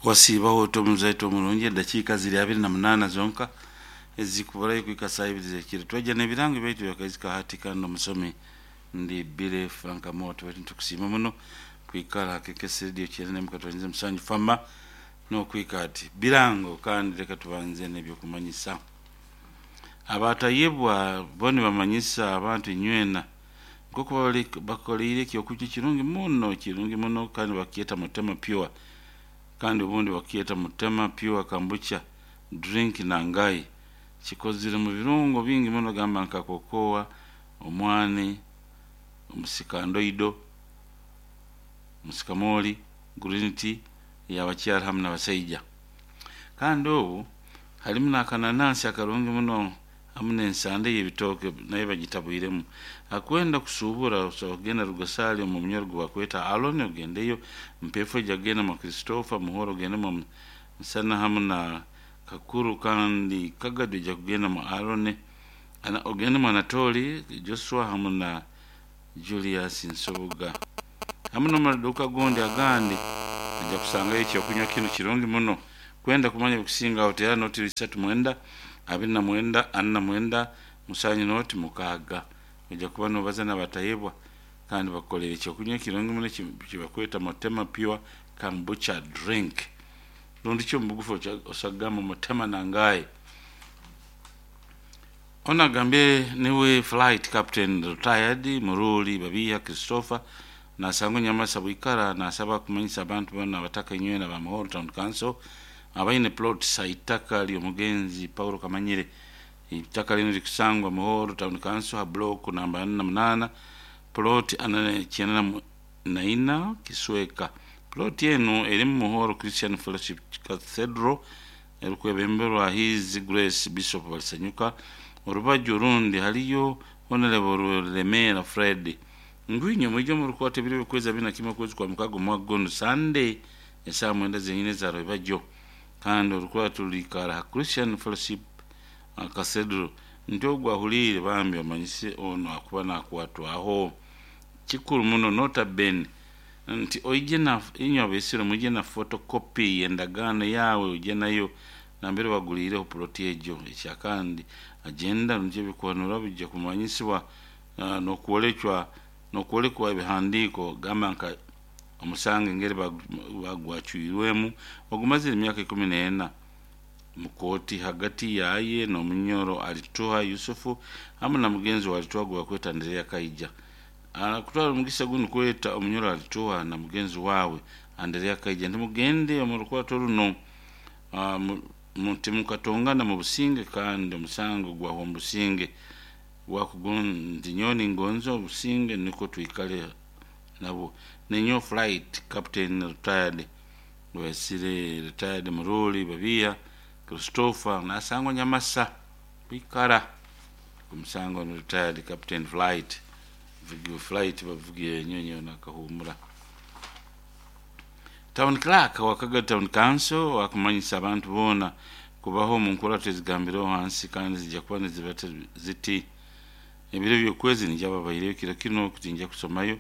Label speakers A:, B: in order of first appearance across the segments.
A: Wasiibaho oti omuzaito omurungi edakiika ziri 28 zonka ezikuburayo kuhika saa ibiri z'ekiro. Twaija n'ebirango byaitu byakaizika hati kandi omusomi ndi Billy Frank Amooti, baitu nitukusiima muno kwikara ha KKS Radio 97 Fama n'okuhika hati. Birango kandi leka tubanze n'ebyokumanyisa. Abatayebwa bo nibamanyisa abantu inywena nk'oku bakoleire ekyokunywa kirungi muno kandi bakyeta Mutema Pure, kandi obundi bakyeta Mutema Pure Kombucha Drink Nangai. Kikozire mu birungo bingi muno gamba nka kokoa, omwani, omusikandoido, musikamoli, green tea ey'abakyara hamu n'abasaija. Kandi obu harimu n'akananansi akarungi muno hamu n'ensande y'ebitooke nayo bagitabwiremu. Akwenda kusuubura osobola kugenda Rugasaali omu munyoro ogu bakweta Aloni ogendeyo, Mpefo ija kugenda mwa Christopher, Muhoro ogende mwa Musana hamu na Kakuru, kandi Kagadi ija kugenda mu Aroni, ogende mu Anatoli, Joshua hamu na Julius Nsubuga. Hamu n'omu maduuka gondi agandi ojja kusangayo ekyokunywa kinu kirungi muno. Kwenda kumanya ebikusingaho teera noti 39 29 49 7 0 6. Ojja kuba noobaza n'abatayebwa kandi bakukolere ekyokunywa ekirungi muno ekibakweta Mutema Pure Kombucha Drink. Rundi ki omu bugufu osobola kugamba Mutema Nangai. Onu agambye niwe Flight Captain Retired Muruli Babiiha Christopher nasangwa Nyamasa bwikara nasaba kumanyisa abantu boona abataka inywena ba Muhoro Town Council abaine plots ha itaka ly'omugenzi Paulo Kamanyire. Itaka linu likusangwa Muhoro Town Council ha block namba 48 plot 94 Kisweka. Plot enu erimu Muhoro Christian Fellowship Cathedral erukwebemberwa His Grace Bishop Balisanyuka. Orubaju orundi haliyo Honorable Lemera Fred. Ngwinyo mwije omu rukwata ebiro by'okwezi 21 okwezi kwa mukaaga omwaka gunu Sunday esaaha 9 zenyini eza rwebagyo, kandi orukwata ruliikara ha Christian Fellowship Cathedral. Nti ogu ahuliire bambi omanyise onu akuba nakwatwaho. Kikuru muno nota bene nti oije na inywe abaisire mwije na photocopy y'endagaano yaawe oije nayo nambere waguliireho ploti egyo. Ekyakandi agenda nikyo ebikuhanura bijja kumanyisibwa n'okwolekwa ebihandiiko gamba nka omusango engeri bagwacwirwemu ogumazire emyaka 14 mu kooti hagati yaye n'omunyoro Alituha Yusufu hamu na mugenzi wa Alituha ogu bakweta Anderea Kaija. Kutwara omugisa gunu kweta omunyoro Alituha na mugenzi waawe Anderea Kaija nti mugende omu rukwato runo timukatongana mu businge kandi omusango gwahwa omu businge. Nti nyowe ningonza obusinge nukwo twikale nabwo. Ninyowe Flight Captain Retired Wesire Retired Muruli Babiiha Christopher nasangwa Nyamasa kwikara omusango ni Retired Captain Flight. Flight bavuga enyonyi nakahumura. Town Clerk wa Kagadi Town Council akumanyisa abantu boona kubaho omu nkurato ezigambireho hansi kandi zijja kuba niziba ziti ebiro by'okwezi nijaba babaireyo kiro kinu tinja kusomayo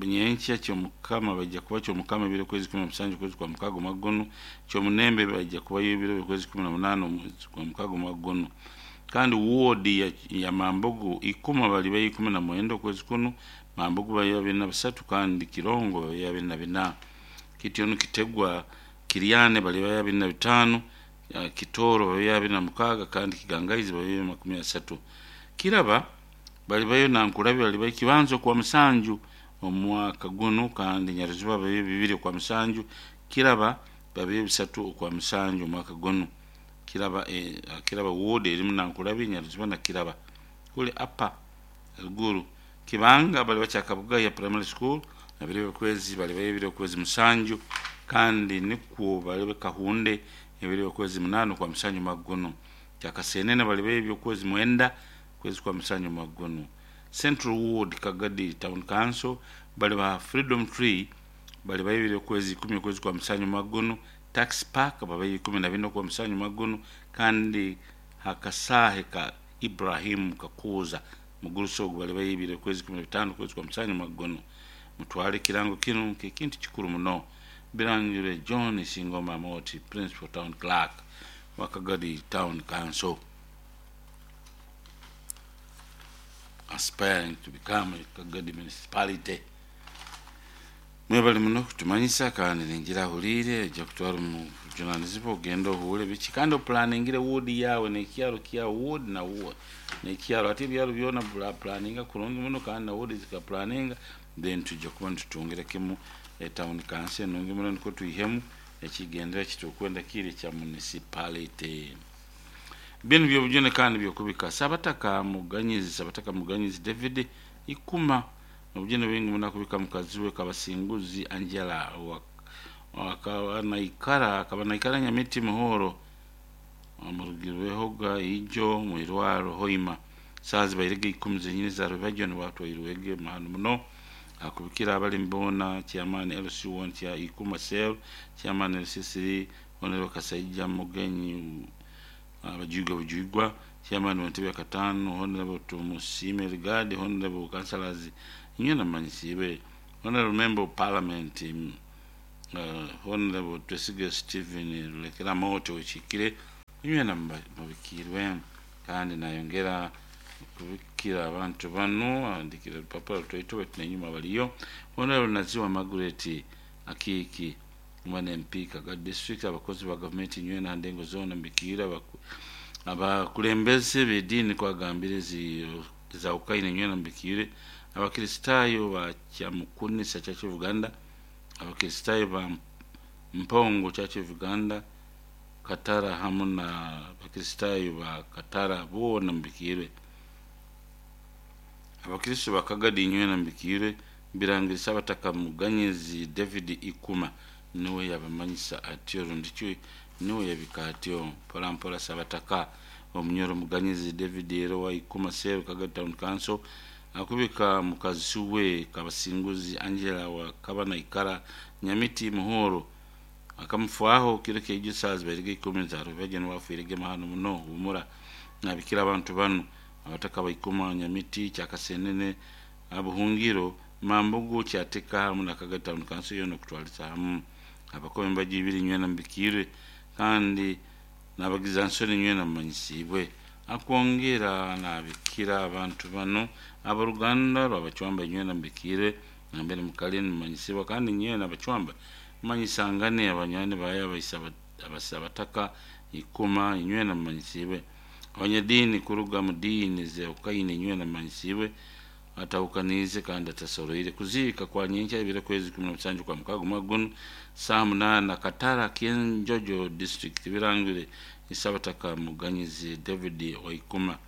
A: nyenkya kyomukama bajja kuba kyomukama ebiro kwezi 17 okwezi kwa mukaaga omwaka gunu, kyomunembe bajja kubayo ebiro by'okwezi 18 omwezi kwa mukaaga omwaka gunu. Kandi ward ya Mambogo ikuma balibayo 19 okwezi kunu, Mambogo bayo 23 kandi Kirongo bayo 24. Kityo nikitegwa Kiryane balibayo 25, Kitoro bayo 26 kandi Kigangaizi bayo 30. Kiraba balibayo Nankulabi balibayo Kibanzo kwa musanju omwaka gunu kandi Nyaruziba bayo 2 kwa musanju, Kiraba babayo 3 kwa musanju omwaka gunu. Kiraba Kiraba ward erimu Nankulabi, Nyaruziba na Kiraba. Kule apa eruguru Kibanga baliba Kyakabugaya Primary School ebiro by'okwezi balibayo ebiro by'okwezi 7 kandi nikwo balibe Kahunde ebiro by'okwezi 8 kwa musanju omwaka gunu. Kyakasenene balibayo eby'okwezi 9 kwezi kwa musanju omwaka gunu. Central Ward Kagadi Town Council baliba Freedom Tree balibayo ebiro by'okwezi 10 okwezi kwa musanju omwaka gunu. Tax Park babayo 14 okwa musanju omwaka gunu kandi hakasaahe ka Ibrahim Kakuuza mugurusi ogu balibayo ebiro by'okwezi 15 okwezi kwa musanju omwaka gunu. Mutwale ekirango kinu nk'ekintu kikuru muno. Birangirwe John Singoma Moti, Principal Town Clerk wa Kagadi Town Council, aspiring to become a Kagadi municipality. Mwebale muno kutumanyisa, kandi ningira ahuliire ojja kutwara omujunanizibwa ogenda ohuule biki kandi opulaningire woodi yawe nekyaro kyawe, woodi na woodi nekyaro, ate ebyaro byona pulaninga kurungi muno kandi na woodi zikapulaninga, then tujja kuba nitutungira kimu etown council enungi muno, nikwo twihemu ekigendera kitukwenda kiri kya municipality. Binu byobujune kandi byokubika Sabataka Muganyizi, Sabataka Muganyizi David Ikuma, obujune bwingi muno akubika mukazi we Kabasinguzi Angela akaba naikara Nyamiti Muhoro, amurugirwehoga ijo mwirwaro Hoima saa zibairege 10 zenyini za rubajo niwatwairwege mahano muno. Akubikira abali mbona chairman LC1 kya Ikuma cell, chairman LC3 Honorable Kasaija Mugenyi Abajuigwa Bujuigwa, chairman wa ntebe ya katano Honorable Tumusime Rigadi, Honorable Councillors inywe namanyisibe, Honorable Member of Parliament Honorable Twesige Stephen Rulekera Moto wekikire, inywe namubikirwe. Kandi nayongera kubikira abantu bano, andikira rupapuro rutwaito baitu nenyuma baliyo Honorable Naziwa Margaret Akiki mwana MP Kagadi District, abakozi ba gavumenti inywe na ndengo zona mbikira, abakulembeze b'ediini kwagambire za ukaine inywe mbikire, Abakristayo ba Kyamukunisa Church of Uganda, Abakristayo ba Mpongo Church of Uganda Katara, hamu na Abakristayo ba Katara boona mbikire, Abakristo ba Kagadi inywe mbikire. Birangirisa Abataka Muganyizi David Ikuma niwe yabamanyisa atyo, rundiki niwe yabika atyo mpola mpola. Sabataka Omunyoro Muganyizi David ero wa Ikuma Cell, Kagadi Town Council, akubika mukazi we Kabasinguzi Angela wa Kabanaikara Nyamiti Muhoro, akamufwaho kiro keijo saa zibairege 10 za rubaje niwafuirege mahano muno humura. Nabikira abantu bano: abataka baikuma Nyamiti, Kyakasenene, Abuhungiro, Mambugu, Kyateka hamu na Kagadi Town Council yona okutwaliza hamu, abakomi embaji ibiri nywena mbikirwe, kandi nabagiza nsoni nywena mumanyisibwe. Akwongera nabikira abantu bano: abaruganda rwabacwamba nywena mbikire, nambere mukali nimumanyisibwa, kandi nywena abacwamba mumanyisangane, abanywani bayo abataka Ikuma inywena mumanyisibwe, abanyadiini kuruga mu diini zeukaine inywena mumanyisibwe, atahukanize kandi atasoroire. Kuziika kwa nyenkya ebiro kwezi 17 kwa mukago mwaka guno saa 8 Katara Kyenjojo District. Birangire Isabataka Muganyizi David Waikuma.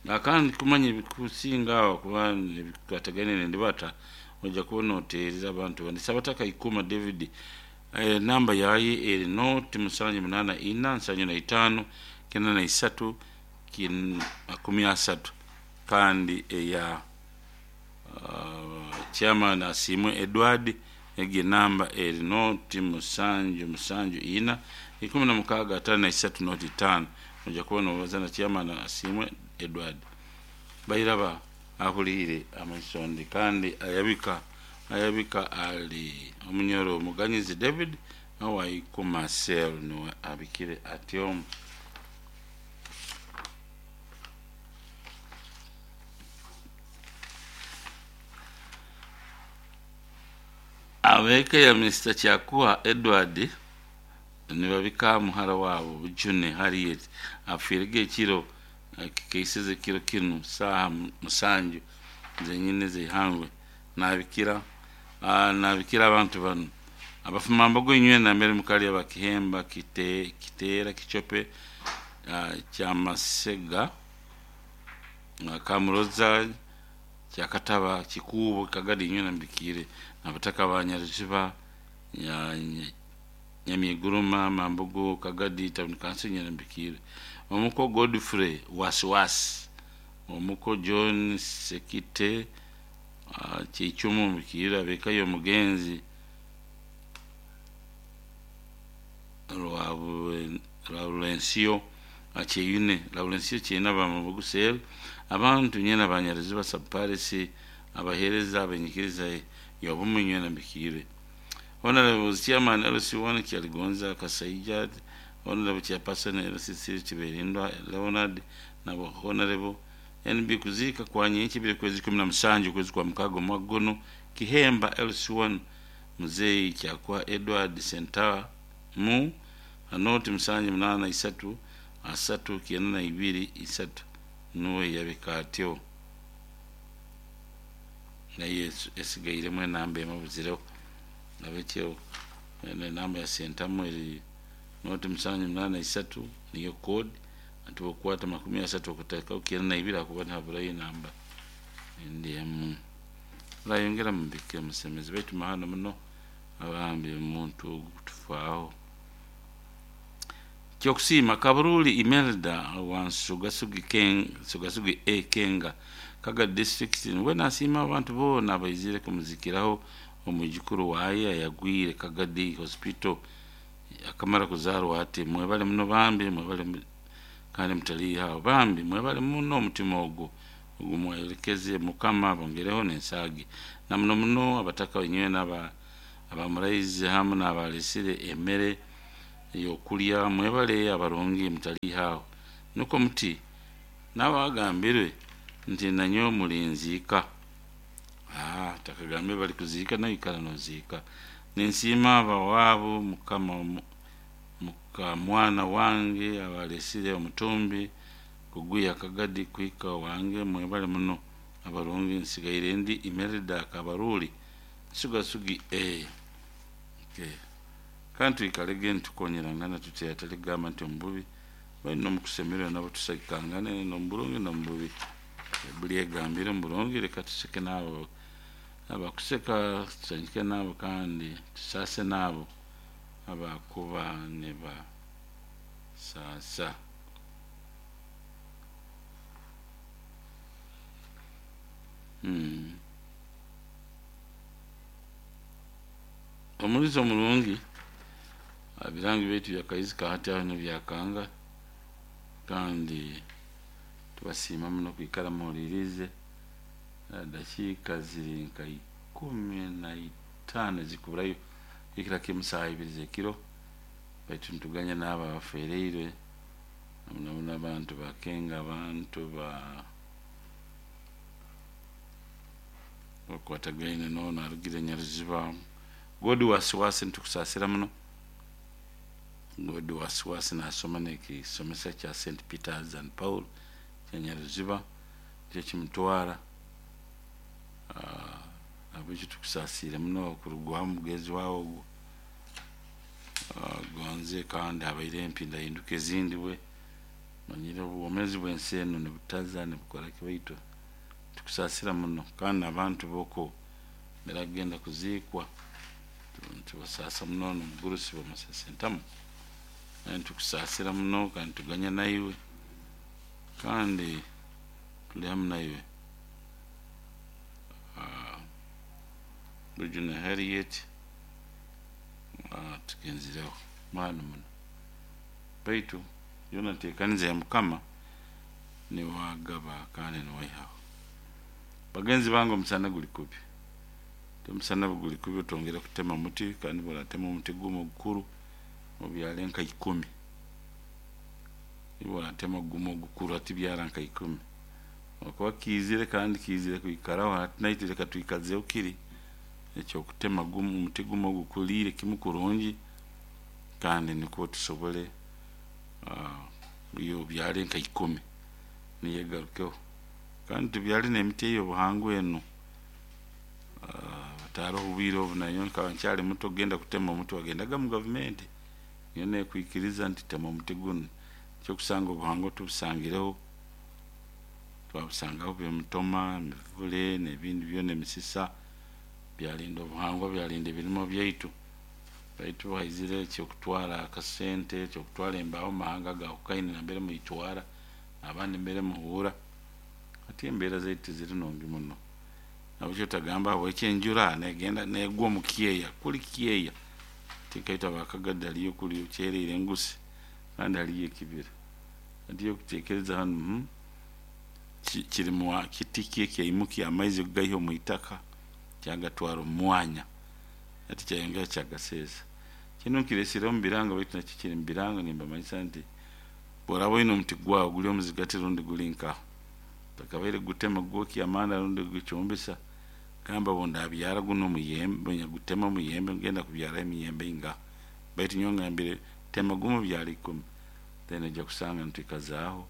A: Akandi kumanya ebikusinga aho kuba ebikwatagaine nendibata ojja kubona oteereza abantu bandi. Sabataka Ikuma David, namba yaye eri noti 784 75 93 30, kandi eya chairman Asimwe Edward egi namba eri noti 774 16 53 noti 5. Ojja kubona obaza na chairman Asimwe Edward. Bairaba ahuliire amaisondi kandi ayabika ali Omunyoro Muganyizi David awaikuma cell niwe abikire atyo. Abeka ya Mr. Kyakuwa Edward nibabika muhara wabo Bujune Harriet afiirege ekiro kikeiseze kiro kinu saaha 7 zenyine zeihangwe. Nabikira nabikira abantu bano: abafuma mbogo inywe nambere mukali, abakihemba Kiteera, Kichope, Kyamasega, Kamuroza, Kyakataba, Kikuubo, Kagadi inywe nambikire, abataka ba Nyaruziba, Nyamiguruma, Mambogo, Kagadi Town Council inywe nambikire, omuko Godfrey Wasiwasi, omuko John Sekite Kyechumu mbikire, abekayo omugenzi Laurencio Kyeyune, Laurencio Kyeyune, abamabugu cell, abantu nyena Banyariziba Sub-Parish, abaheereza abenyikiriza y'obumu nywena mbikire. Honorable Chairman LC1 Kyaligonza Kasaija, Honorable Chairperson LC3 Kiberindwa Leonard nabo Honorable NB kuziika kwa nyenki biri kwezi 17 kwezi kwa mukago mwaka guno Kihemba LC1 Muzeyi Kyakwa Edward Sentamu anoti 7 8 3 92 3 nuwe yabika atyo naye esigairemu enamba emabuzireho nabekyo enamba ya Sentamu eri noti 7 8 3 niyo code ati okwata 30 okutaka 92 akuba ntaburayo enamba endi emu rayongera mubike musemezi baitu mahano muno abambi omuntu ogu kutufaaho. Kyokusiima Kaburuli Imelda wa Sugasugi A Kenga Kaga district niwe nasiima abantu boona abaizire kumuzikiraho omwijukuru waye ayagwire Kagadi Hospital akamara kuzaarwa ati mwebale muno bambi, mwebale kandi mutaliihaho bambi, mwebale muno omutima ogwo ogumwerekeze Mukama bongereho n'ensaagi na muno muno abataka wenyewe n'aba abamuraizi hamu n'abalesire emmere ey'okulya, mwebale abarungi mutaliihaho nukwo muti n'abagambirwe nti nanyowe mulinziika takagambire bali kuziika nawe ikara noziika. Ninsiima abawaabo mukama mukamwana wange abalesire omutumbi kugwiha Kagadi kuhika wange, mwebale muno abarungi nsigaire ndi Imelda Kabaruli Sugasugi A. Okay. Kandi twikalege nitukonyerangana tuti ataligamba nti omububi bali nomukusemererwa nabo tusagikangane nomuburungi nomububi. Buli egambire omuburungi leka tuseke nabo abakuseka tusanyuke nabo kandi tusaase nabo abakuba nibasaasa. Omulizo omurungi ebirangi byaitu byakaizi kahati aho nibyakanga kandi tubasiima muno kwikara muhuliriize dakiika ziri nka 15 zikuburayo kuhikira kimu saaha 2 z'ekiro baitu nituganya n'abo abafereirwe muno muno abantu bakenga abantu ba bakwatagaine n'ono arugire Nyaruziba God wasiwasi nitukusaasira muno. God wasiwasi nasoma n'ekisomesa kya St Peters and Paul kya Nyaruziba nikyo kimutwara habwekyo tukusaasiire muno okurugwaho omugenzi wawe ogu gonze kandi habaire empindahinduka ezindi bwe manyire obwomeezi bw'ensi enu nibutaza nibukora ki baitu tukusaasira muno kandi abantu b'oku baragenda kuziikwa tubasaasa muno n'omugurusi bamusasa entamu kandi tukusaasira muno kandi tuganya naiwe kandi tuli hamu naiwe. Bujuna Harriet tugenzireho maani muno baitu yoona nteekaniza ya Mukama niwagaba kandi niwaihaho. Bagenzi bange omusana guli kubi, omusana guli kubi otwongera kutema muti kandi boratema omuti gumu ogukuru obyare nka 10 iwe oratema gumu ogukuru hati byara nka 10 okuba kiizire kandi kiizire kwikaraho hati naitwe leka twikazeho kiri ekyokutema gumu omuti gumu ogukuliire kimu kurungi kandi nikwo tusobole obyare nka 10 niyo egarukeho kandi tubyare n'emiti ey'obuhangwa enu taaroho obwire obu nanyowe nkaba nkyali muto kugenda kutema omuti wagendaga mu gavumenti niyo nekwikiriza nti tema omuti gunu nikyo okusanga obuhangwa tubusangireho twabusangaho emitoma, emivule n'ebindi byona emisisa byalinda obuhangwa byalinda ebirimo byaitu baitu haizire ekyokutwara akasente ekyokutwara embaaho mu mahanga agahukaine nambere muitwara abandi mbere muhuura hati embeera zaitu tiziri nungi muno nabwekyo otagamba habweki enjura negenda negwa omu kyeya kuli kyeya tikaitwe abakagadi haliyo kuli okyeriire engusi kandi haliyo ekibira hati okuteekereza hanu kiri kiti ki ekyaimukya amaizi okugaiha omu itaka kyagatwara omu mwanya. Hati kyayongera kyagaseesa. Kinu nkiresire omu biranga, baitu nakyo kiri mu biranga. Nimbamanyisa nti bw'oraba oine omuti gwawe guli omuzigati rundi guli nkaho, takabaire gutema gwokya amanda rundi gucumbisa, gamba bundabyara guno omuyembe, gutema omuyembe, ngenda kubyaraho emiyembe ingaha. Baitu nyowe ngambire, tema gumu byara 10, then ojja kusanga nitwikazaaho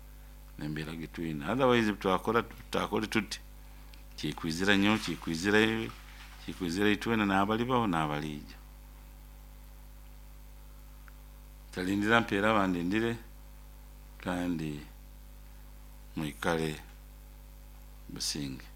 A: n'embeera gitwine. Otherwise twakora tutakole tuti, kikwizira nyowe, kikwizira iwe, kikwizira itwena, n'abalibaho n'abaliija. Talindira mpeera bandindire, kandi mwikale businge.